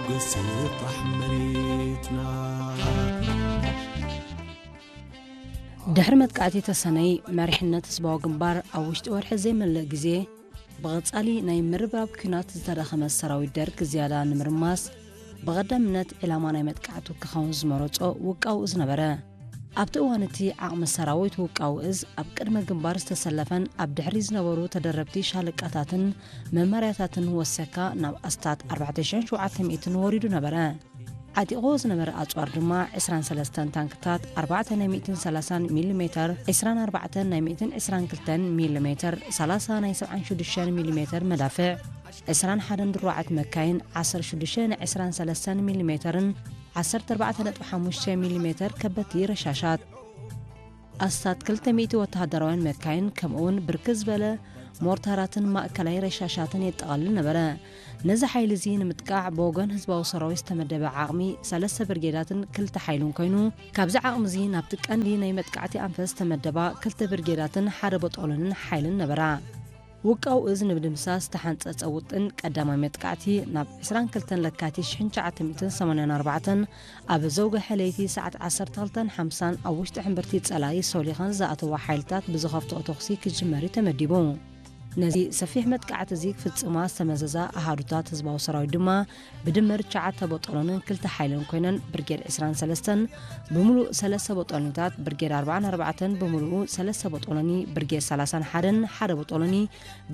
ስጣሕ መሬትና። ድሕሪ መጥቃዕቲ ተሰነይ፣ መሪሕነት ህዝባዊ ግንባር ኣብ ውሽጢ ወርሒ ዘይመልእ ግዜ ብቐጻሊ ናይ ምርብራብ ኲናት ዝተዳኸመ ሰራዊት ደርግ ዝያዳ ንምርማስ፣ ብቐዳምነት ዒላማ ናይ መጥቃዕቱ ክኸውን ዝመረጾ ውቃው እዝ ነበረ። ኣብቲ እዋን እቲ ዓቕሚ ሰራዊት ውቃው እዝ ኣብ ቅድመ ግንባር ዝተሰለፈን ኣብ ድሕሪ ዝነበሩ ተደረብቲ ሻለቃታትን መመርያታትን ወሰካ ናብ ኣስታት ኣርባዕተ ሽሕን ሸውዓተ ሚእትን ወሪዱ ነበረ። ዓጢቕዎ ዝነበረ ኣጽዋር ድማ ዕስራን ሰለስተን ታንክታት፣ ኣርባዕተ ናይ ሚእትን ሰላሳን ሚሊ ሜተር፣ ዕስራን ኣርባዕተን ናይ ሚእትን ዕስራን ክልተን ሚሊ ሜተር፣ ሰላሳ ናይ ሰብዓን ሽዱሽተን ሚሊ ሜተር መዳፍዕ፣ ዕስራን ሓደን ድሩዓት መካይን፣ ዓሰርተ ሽዱሽተ ናይ ዕስራን ሰለስተን ሚሊ ሜተርን ዓሰርተ ኣርባዕተ ነጥቢ ሓሙሽተ ሚሊ ሜተር ከበድቲ ረሻሻት፣ ኣስታት ክልተ ሚእቲ ወተሃደራውያን መካይን፣ ከምኡውን ብርክት ዝበለ ሞርታራትን ማእከላይ ረሻሻትን የጠቓልል ነበረ። ነዚ ሓይሊ እዚ ንምጥቃዕ ብወገን ህዝባዊ ሰራዊት ዝተመደበ ዓቕሚ ሰለስተ ብርጌዳትን ክልተ ሓይልን ኮይኑ፣ ካብዚ ዓቕሚ እዚ ናብቲ ቀንዲ ናይ መጥቃዕቲ ኣንፈት ዝተመደባ ክልተ ብርጌዳትን ሓደ በጦሎንን ሓይልን ነበራ። ውቃው እዝ ንምድምሳስ ዝተሓንጸጸ ውጥን ቀዳማይ መጥቃዕቲ ናብ ዕስራን ክልተን ለካቲት ሽሕን ትሽዓተ ሚእትን ሰማንያን ኣርባዕተን ኣብ ዘውግሐ ለይቲ ሰዓት ዓሰርተ ክልተን ሓምሳን ኣብ ውሽጢ ሕምብርቲ ጸላኢ ሶሊኸን ዝኣተዋ ሓይልታት ብዝኸፍትኦ ተኹሲ ክጅመር እዩ ተመዲቡ። ነዚ ሰፊሕ መጥቃዕቲ እዚ ክፍጽማ ዝተመዘዛ ኣሃዱታት ህዝባዊ ሰራዊት ድማ ብድምር ትሽዓተ ቦጦሎንን ክልተ ሓይልን ኮይነን ብርጌድ ዕስራን ሰለስተን ብምሉእ ሰለስተ ቦጦሎኒታት፣ ብርጌድ ኣርባዓን ኣርባዕተን ብምሉኡ ሰለስተ ቦጦሎኒ፣ ብርጌድ ሰላሳን ሓደን ሓደ ቦጦሎኒ፣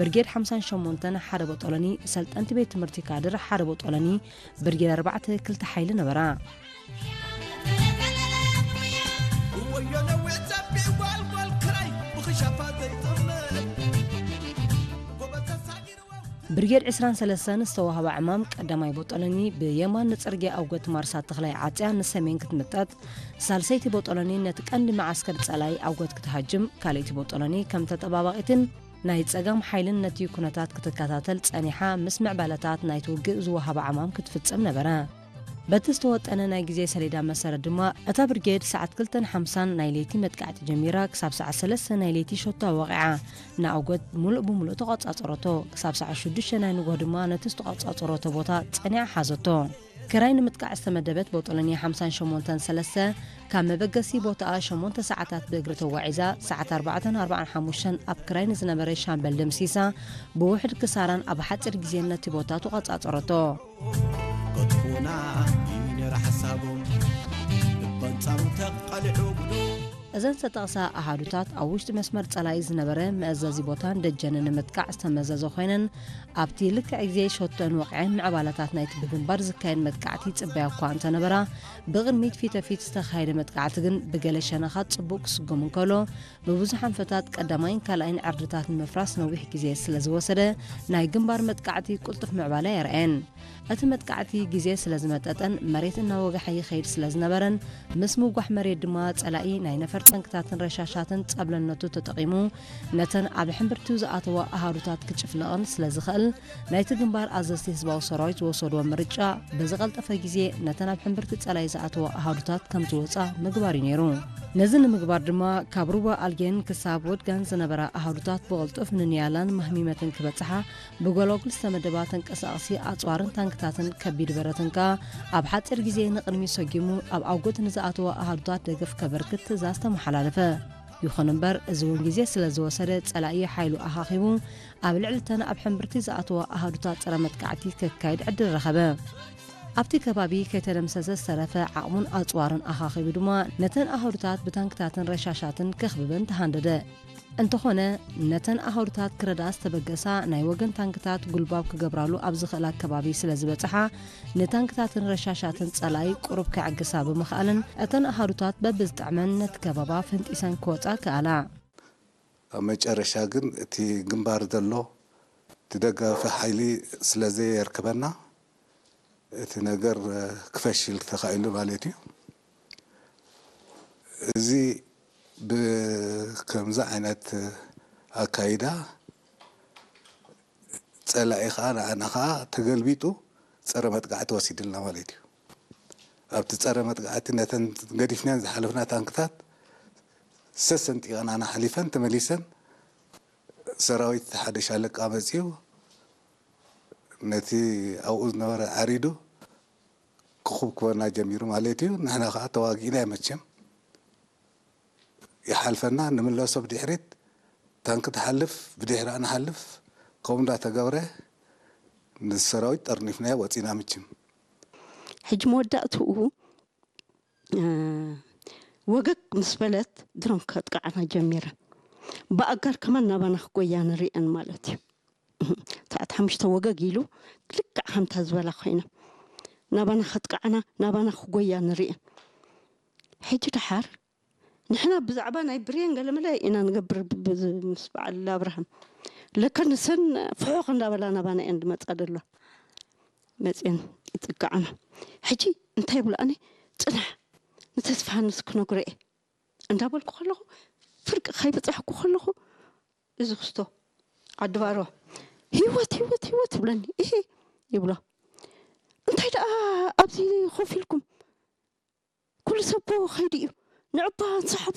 ብርጌድ ሓምሳን ሸሞንተን ሓደ ቦጦሎኒ፣ ሰልጠንቲ ቤት ትምህርቲ ካድር ሓደ ቦጦሎኒ፣ ብርጌድ ኣርባዕተ ክልተ ሓይሊ ነበራ። ወዮ ነዊዕ ጸቢብ ጓልጓል ክራይ ብኽሻፋ ዘይጥምር ጎበዝ ተሳጊርዎ። ብርጌድ ዕስራን ሰለስተን ዝተዋህባ ዕማም ቀዳማይ ቦጦሎኒ ብየማን ንጽርግያ ኣውገት ማርሳ ተኽላይ ዓጽያ ንሰሜን ክትምጠጥ፣ ሳልሰይቲ ቦጦሎኒ ነቲ ቀንዲ መዓስከር ጸላኢ ኣውገት ክትሃጅም፣ ካልኣይቲ ቦጦሎኒ ከም ተጠባባቒትን ናይ ጸጋም ሓይልን ነቲ ኩነታት ክትከታተል ጸኒሓ፣ ምስ ምዕባለታት ናይቲ ውግእ ዝወሃባ ዕማም ክትፍጽም ነበረ። በቲ ዝተወጠነ ናይ ግዜ ሰሌዳ መሰረት ድማ፣ እታ ብርጌድ ሰዓት ክልተን ሓምሳን ናይ ለይቲ መጥቃዕቲ ጀሚራ፣ ክሳብ ሰዓት ሰለስተ ናይ ለይቲ ሸቶ ወቒዓ፣ ንኣውገት ሙሉእ ብሙሉእ ተቖጻጸረቶ። ክሳብ ሰዓት ሽዱሽተ ናይ ንግሆ ድማ ነቲ ዝተቖጻጸረቶ ቦታ ጸኒዓ ሓዘቶ። ክራይ ንምጥቃዕ ዝተመደበት ቦጦሎኒ ሓምሳን ሸሞንተን ሰለስተ፣ ካብ መበገሲ ቦታኣ ሸሞንተ ሰዓታት ብእግሪ ተጓዒዛ፣ ሰዓት ኣርባዕተን ኣርባዓን ሓሙሽተን ኣብ ክራይ ንዝነበረ ሻምበል ደምሲሳ፣ ብውሕድ ክሳራን ኣብ ሓጺር ግዜን ነቲ ቦታ ተቖጻጸረቶ። ከጥፉና እዩ ነይሩ ሓሳቦም፣ በንጻሩ ተቓልዑ ብሎ። እዘን ዝተጠቕሳ ኣሃዱታት ኣብ ውሽጢ መስመር ጸላኢ ዝነበረ መእዘዚ ቦታን ደጀንን ንምጥቃዕ ዝተመዘዘ ኮይነን፣ ኣብቲ ልክዕ ግዜ ሸቶን ወቕዐን ምዕባለታት ናይቲ ብግንባር ዝካየድ መጥቃዕቲ ይጽበያ እኳ እንተነበራ፣ ብቕድሚት ፊተፊት ዝተኻየደ መጥቃዕቲ ግን ብገለ ሸነኻት ጽቡቕ ክስጉም እንከሎ፣ ብብዙሕ ኣንፈታት ቀዳማይን ካልኣይን ዕርድታት ንምፍራስ ነዊሕ ግዜ ስለ ዝወሰደ፣ ናይ ግንባር መጥቃዕቲ ቅልጡፍ ምዕባለ ኣየርኣየን። እቲ መጥቃዕቲ ግዜ ስለ ዝመጠጠን መሬት እናወግሐ ይኸይድ ስለ ዝነበረን፣ ምስ ምውጋሕ መሬት ድማ ጸላኢ ናይ ነፈር ታንክታትን ረሻሻትን ጸብለልነቱ ተጠቒሙ ነተን ኣብ ሕምብርቲኡ ዝኣተዋ ኣሃዱታት ክጭፍልቐን ስለ ዝኽእል፣ ናይቲ ግንባር ኣዘዝቲ ህዝባዊ ሰራዊት ዝወሰድዎ ምርጫ ብዝቐልጠፈ ግዜ ነተን ኣብ ሕምብርቲ ጸላኢ ዝኣተዋ ኣሃዱታት ከም ዝወጻ ምግባር እዩ ነይሩ። ነዚ ንምግባር ድማ ካብ ሩባ ኣልጌን ክሳብ ወድጋን ዝነበራ ኣሃዱታት ብቕልጡፍ ንንያላን ማህሚመትን ክበጽሓ ብጎላጉል ዝተመደባ ተንቀሳቐሲ ኣጽዋርን ታንክታትን ከቢድ ብረትን ከኣ ኣብ ሓጺር ግዜ ንቕድሚት ሰጒሙ ኣብ ኣውገት ንዝኣተዋ ኣሃዱታት ደገፍ ከበርክት ትእዛዝ ተመሓላለፈ። ይኹን እምበር፣ እዚ እውን ግዜ ስለ ዝወሰደ፣ ጸላኢ ሓይሉ ኣኻኺቡ ኣብ ልዕሊ እተን ኣብ ሕምብርቲ ዝኣተዋ ኣሃዱታት ጸረ መጥቃዕቲ ከካይድ ዕድል ረኸበ። ኣብቲ ከባቢ ከይተደምሰሰ ዝተረፈ ዓቕሙን ኣጽዋርን ኣኻኺቡ ድማ ነተን ኣሃዱታት ብታንክታትን ረሻሻትን ከኽብበን ተሃንደደ። እንተኾነ፣ ነተን ኣሃዱታት ክረድኣ ዝተበገሳ ናይ ወገን ታንክታት ጉልባብ ክገብራሉ ኣብ ዝኽእላ ከባቢ ስለ ዝበጽሓ፣ ንታንክታትን ረሻሻትን ጸላኢ ቁሩብ ከዕግሳ ብምኽኣለን፣ እተን ኣሃዱታት በብዝጥዕመን ነቲ ከበባ ፈንጢሰን ክወጻ ከኣላ። ኣብ መጨረሻ ግን እቲ ግንባር ዘሎ እቲ ደጋፊ ሓይሊ ስለ ዘየርክበና፣ እቲ ነገር ክፈሽል ተኻኢሉ ማለት እዩ። እዚ ብከምዚ ዓይነት ኣካይዳ ጸላኢ ኸኣ ንዓና ኸኣ ተገልቢጡ ጸረ መጥቃዕቲ ወሲድልና ማለት እዩ። ኣብቲ ጸረ መጥቃዕቲ ነተን ገዲፍናን ዝሓለፍና ታንክታት ሰሰንጢቐን ኣናሓሊፈን ተመሊሰን ሰራዊት ሓደ ሻለቃ መጺኡ ነቲ ኣብኡ ዝነበረ ዓሪዱ ክኹብኩበና ጀሚሩ ማለት እዩ። ንሕና ከዓ ተዋጊእና መቸም ይሓልፈና፣ ንምለሶ ብድሕሪት፣ ታንክ ትሓልፍ፣ ብድሕሪኣ ንሓልፍ። ከምኡ እንዳተገብረ ንሰራዊት ጠርኒፍናዮ ወፂና። ምችም ሕጂ መወዳእትኡ ወገግ ምስ በለት ድሮን ከጥቅዓና ጀሚረን። ብኣጋር ከማን ናባና ክጎያ ንሪአን ማለት እዩ። ሰዓት ሓሙሽተ ወገግ ኢሉ ልክዕ ከምታ ዝበላ ኮይና ናባና ከጥቅዓና ናባና ክጎያ ንሪአን። ሕጂ ደሓር ንሕና ብዛዕባ ናይ ብሬን ገለመለ ኢና ንገብር ምስ በዓል ኣብርሃም። ለካ ንሰን ፍሑኽ እንዳበላ ናባና እየን ዝመፃ ዘለዋ። መፅየን ይጥቅዓና። ሕጂ እንታይ ይብላኒ? ፅናሕ፣ ንተስፋሃንስ ክነግሮ እየ እንዳበልኩ ከለኹ፣ ፍርቂ ከይበፃሕኩ ከለኹ፣ እዚ ክስቶ ዓዲ ባሮ፣ ህይወት ህይወት ህይወት ይብለኒ። እሂ ይብሎ። እንታይ ደኣ ኣብዚ ኮፍ ኢልኩም? ኩሉ ሰብ እኮ ከይዱ እዩ። ንዕባ ሰሓቡ